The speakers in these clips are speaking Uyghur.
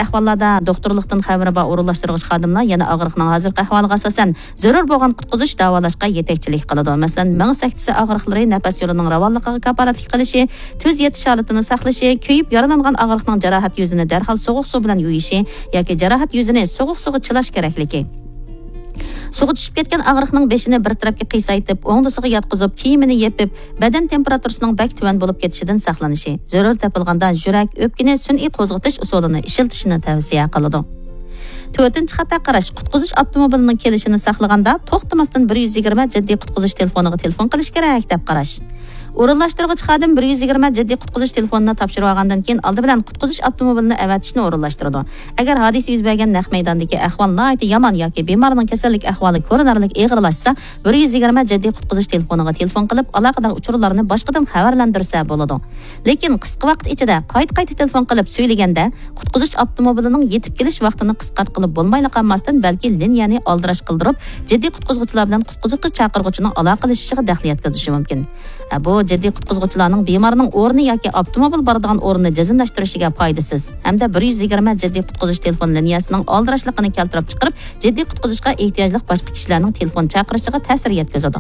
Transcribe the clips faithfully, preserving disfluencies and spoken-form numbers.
ئەھۋاللاردا دوختۇرلۇقتىن خەۋىرى بار ئورۇنلاشتۇرغۇچ خادىملار يەنە ئاغرىقنىڭ ھازىرقى ئەھۋالىغا ئاساسەن، زۆرۈر بولغان قۇتقۇزۇش، داۋالاشقا يېتەكچىلىك قىلىدۇ. مەسىلەن، مېڭە سەكتىسى ئاغرىقلىرى نەپەس يولىنىڭ راۋانلىقىغا كاپالەتلىك قىلىشى، تۈز يېتىش ھالىتىنى ساقلىشى، كۆيۈپ يارىلانغان ئاغرىقنىڭ جاراھەت يۈزىنى دەرھال سوغۇق سۇ بىلەن يۇيۇشى ياكى جاراھەت يۈزىنى سوغۇق سۇغا چىلاش كېرەكلىكى. سۇغا چۈشۈپ كەتكەن ئاغرىقنىڭ بېشىنى بىر تەرەپكە قىيسايتىپ، ئوڭدىسىغا ياتقۇزۇپ، كىيىمىنى يېپىپ، بەدەن تېمپېراتۇرىسىنىڭ بەك تۆۋەن بولۇپ كېتىشىدىن ساقلىنىشى، زۆرۈر تېپىلغاندا يۈرەك، ئۆپكىنى سۈنئىي قوزغىتىش ئۇسۇلىنى ئىشلىتىشىنى تەۋسىيە قىلىدۇ. تۆتىنچى خاتا قاراش، قۇتقۇزۇش ئاپتوموبىلىنىڭ كېلىشىنى ساقلىغاندا، توختىماستىن بىر يۈز يىگىرمە جىددىي قۇتقۇزۇش تېلېفونىغا تېلېفون قىلىش كېرەك، دەپ قاراش. ئورۇنلاشتۇرغۇچى خادىم بىر يۈز يىگىرمە جىددىي قۇتقۇزۇش تېلېفونىنى تاپشۇرۇۋالغاندىن كېيىن، ئالدى بىلەن قۇتقۇزۇش ئاپتوموبىلىنى ئەۋەتىشنى ئورۇنلاشتۇرىدۇ. ئەگەر ھادىسە يۈز بەرگەن نەق مەيداندىكى ئەھۋال ناھايىتى يامان ياكى بىمارنىڭ كېسەللىك ئەھۋالى كۆرۈنەرلىك ئېغىرلاشسا، بىر يۈز يىگىرمە جىددىي قۇتقۇزۇش تېلېفونىغا تېلېفون قىلىپ، ئالاقىدار ئۇچۇرلارنى باشقىدىن خەۋەرلەندۈرسە بولىدۇ. لېكىن قىسقا ۋاقىت ئىچىدە قايتا-قايتا تېلېفون قىلىپ سۆيلىگەندە، قۇتقۇزۇش ئاپتوموبىلىنىڭ يېتىپ كېلىش ۋاقتىنى قىسقارتقىلى بولمايلا قالماستىن، بەلكى لىنىيەنى ئالدىراش قىلدۇرۇپ، جىددىي قۇتقۇزغۇچىلار بىلەن قۇتقۇزۇشقا چاقىرغۇچىنىڭ ئالاقىلىشىشىغا دەخلى يەتكۈزۈشى مۇمكىن. بۇ جىددىي قۇتقۇزغۇچىلارنىڭ بىمارنىڭ ئورنى ياكى ئاپتوموبىل بارىدىغان ئورنىنى جەزملەشتۈرۈشىگە پايدىسىز ھەمدە بىر يۈز يىگىرمە جىددىي قۇتقۇزۇش تېلېفون لىنىيەسىنىڭ ئالدىراشلىقىنى كەلتۈرۈپ چىقىرىپ، جىددىي قۇتقۇزۇشقا ئېھتىياجلىق باشقا كىشىلەرنىڭ تېلېفون چاقىرىشىغا تەسىر يەتكۈزىدۇ.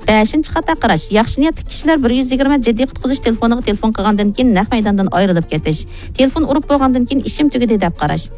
بەشىنچى خاتا قاراش، ياخشى نىيەتلىك كىشىلەر بىر يۈز يىگىرمە جىددىي قۇتقۇزۇش تېلېفونىغا تېلېفون قىلغاندىن كېيىن نەق مەيداندىن ئايرىلىپ كېتىش، تېلېفون ئۇرۇپ بولغاندىن كېيىن ئىشىم تۈگىدى دەپ قاراش،